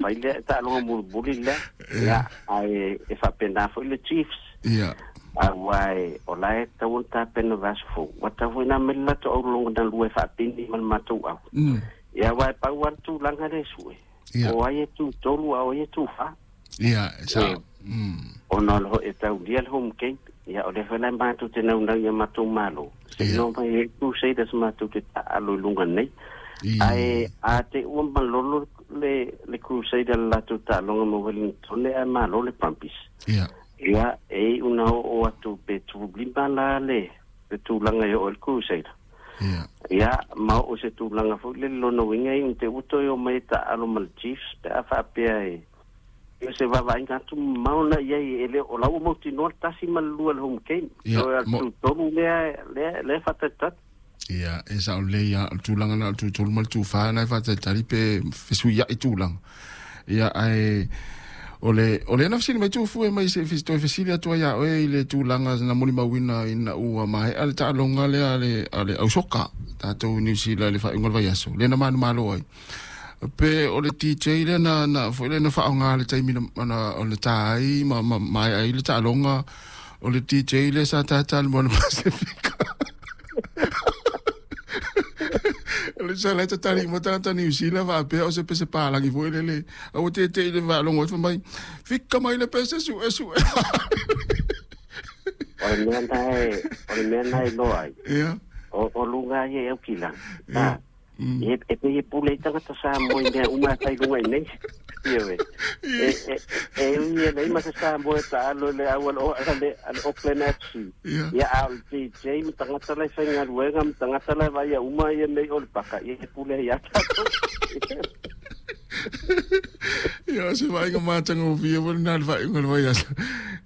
mai lea taaloga mulimuli lea. Ia, ae e faapena foi le Chiefs. Ia. Aua e o la e tatau ona tapena vaiaso fou. Ua tatau foi ona aumai le latou aulologa na lua e faapini ma le matou au. Ia, aua e pau lava le tulaga lea e sue. Ia. O ai e tu tolu a o ai e tu fa. Ia, e E sao. Ona o le e taulia le home game. Ia, o lea foi la matou te naunau ia matou malo. Se Ia. no mai e Crusaders matou te taalo i luga nei. I Ae a te ua malolo le Crusader le latou taaloga ma Wellington ae malo le Brumbies. Ia. Ia, e iu na oo atu pe 15 la le tulaga e oo i le Crusader. Ia. Ia, ma oo se tulaga foi le lona uiga i te uto e o mai e taalo ma le Chiefs pe a faapea e o se vaavaaiga atu mamao na i ai e le o la ua mautinoa le tasi ma le lua le home game. Ia. So, Mo tu tolu lea faatalitali. Ia, e sao lelei lava. O le tulaga na o le tutolu ma le tufa na e faatalitali pe fesuiai tulaga. Ia, ae o le na fesili mai Tufu e mai se toe fesili atu ai ia oe i le tulaga na molimauina ina ua maea le taaloga lea a le ausoka tatou i Niu Sila i le faaiuga o le vaiaso lea na manumalo ai. Pe o le DJ lea na foi lea na faaaoga le taimi na o le ta ai ma maea ai le taaloga o le DJ lea sa tata le Moana Pasifika. Le sa le tatali mo tagata Niu Sila faapea o se pese palagi foi lele. Aua te i le faalogo ai fai mai, fika mai le pese sue sue. O le mea na e, o le mea na e loa ai. Ia. O luga ai e Aukilani. Ia. E pei e pule i tagata Samoa i mea uma e fai luga i nei. Ioe. E ui e leai ma se Samoa e taalo i le au a le Auckland FC. Ia. Ia, a o le DJ ma tagata la e faigaluega ma tagata la e vaaia uma ia mea i o le paka, ia e pule ai ia tatou. Ia, o se vaaiga matagofie foi lena i le faaiuga o le vaiaso.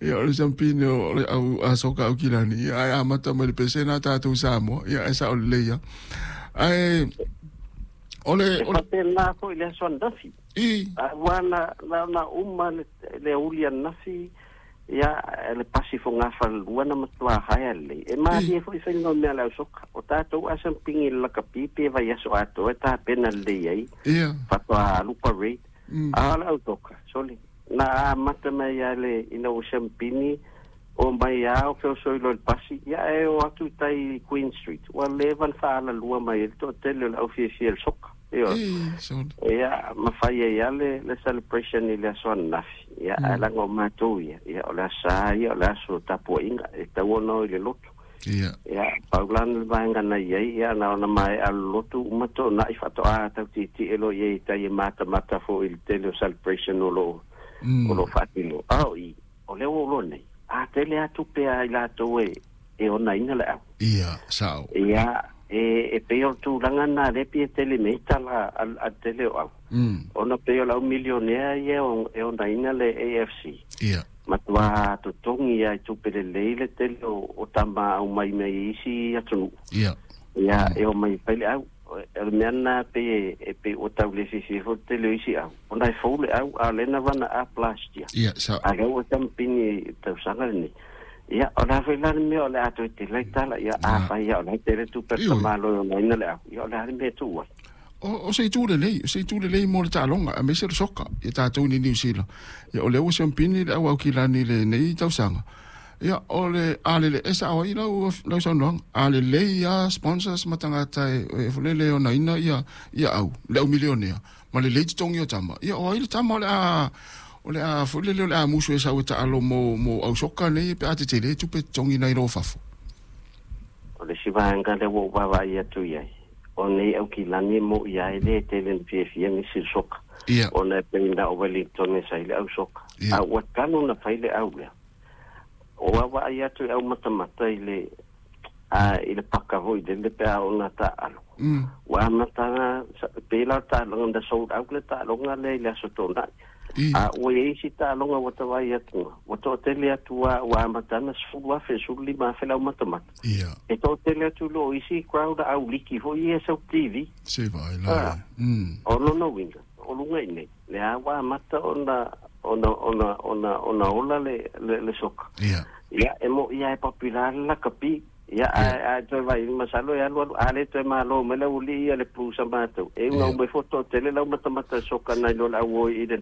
Ia, o le siampine o le au asoka Aukilani. Ia, ae amata mai le pese na tatou Samoa. Ia, ae sao lelei lava. Ae o le E o le faapena foi le aso ananafi. I Aua na uma le auli ananafi, ia le pasi fogafalelua na matuā haea lelei. E I malie foi faiga o mea a le ausoka. O tatou asampigi i le lakapi pe vaiaso atoa e tapena lelei ai, Ia. faatoa alu parade. A o le autoka, sole, na amata mai ia le ina ua siampini o mai a o feoso i loa i le pasi, ia e o atu i tai i Queen Street. Ua leva ona faalalua mai ai le toatele o le aufiafia i le soka. Ioe. I sole. Ia, ma fai ai lava le celebration i le aso ananafi. Ia, ae laga o matou ia, ia o le aso Sa ia, o le aso tapuaiga, e tatau ona o i le lotu. Ia. Ia, pau la le vaega na i ai, ia na ona maea le lotu uma toonai faatoa tau tietie loa i ai i tai e matamata foi i le tele o celebration o lo o lo faatino. A o i, o lea ua ou loa nei, a tele lava tupe a i latou e onaina le au. Ia, sao. Ia, e pei o le tulaga lena lea pei e tele nei tala a le tele o au. Ona pei o le au milionea ia e onaina le AFC. Ia. Matua totogi lava i tupe lelei le tele o tama aumai mai isi atunuu. Ia. Ia, e omai e fai le au. O le mea lena pei e pei ua tau le fiafia foi le tele o isi au. Ona e fou le au, a o lea na run up last year. Ia, sao. A lea ua tampini i le tausaga lenei. Ia, o le a foi la le mea o le a toe tele ai tala, ia, afai lava o la e tele tupe a le Ioe. tamaloa e onaina le au, ia, o le a le mea e tuu ai? O se itu lelei, o se itu lelei mo le taaloga, aemaise le soka ia tatou nei Niu Sila. Ia, o lea ua siampini le au Aukilani i lenei tausaga. Ia, o le a lele, e sao ai lau saunoaga, a lelei lava sponsors ma tagata e lele onaina ia au, le au milionea, ma lelei totogi o tama. Ia, o ai le tama o le a foi lele o le a musu e sau e taalo mo au soka nei pe a tetele tupe totogi nai lo fafo. O le isi vaega lea ua ou vaavaai atu i ai, o nei Aukilani e mo'i lava e le tele ona fiafia nisi i le soka, Ia. ona e pei na o Wellington e sa i le au soka. Ia. A ua talu ona fai le au lea. O vaavaai atu i au matamata i le i le paka foi lele pe a ona taaalo. Ua amata na pei la o le taaloga na sold out le taaloga lea i le Aso Toonai. I. A ua i ai isi taaloga ua tavai atu, ua toatele atu lava, ua amata ana 10,000, 15,000 le au matamata. Ia. E toatele atu i lo isi crowd a au liki foi ia e sau TV. Se vaai la. O lona uiga, o luga i nei, lea ua amata ona ola le soka. Ia. Ia, e mo'i lava e popular le lakapi. Ia, ae toe vaai, masalo e alu alu, a le toe malo mai le aualii ia le Blues a matou. E uga mai foi toatele lau matamata soka nai lo le au o i Eden.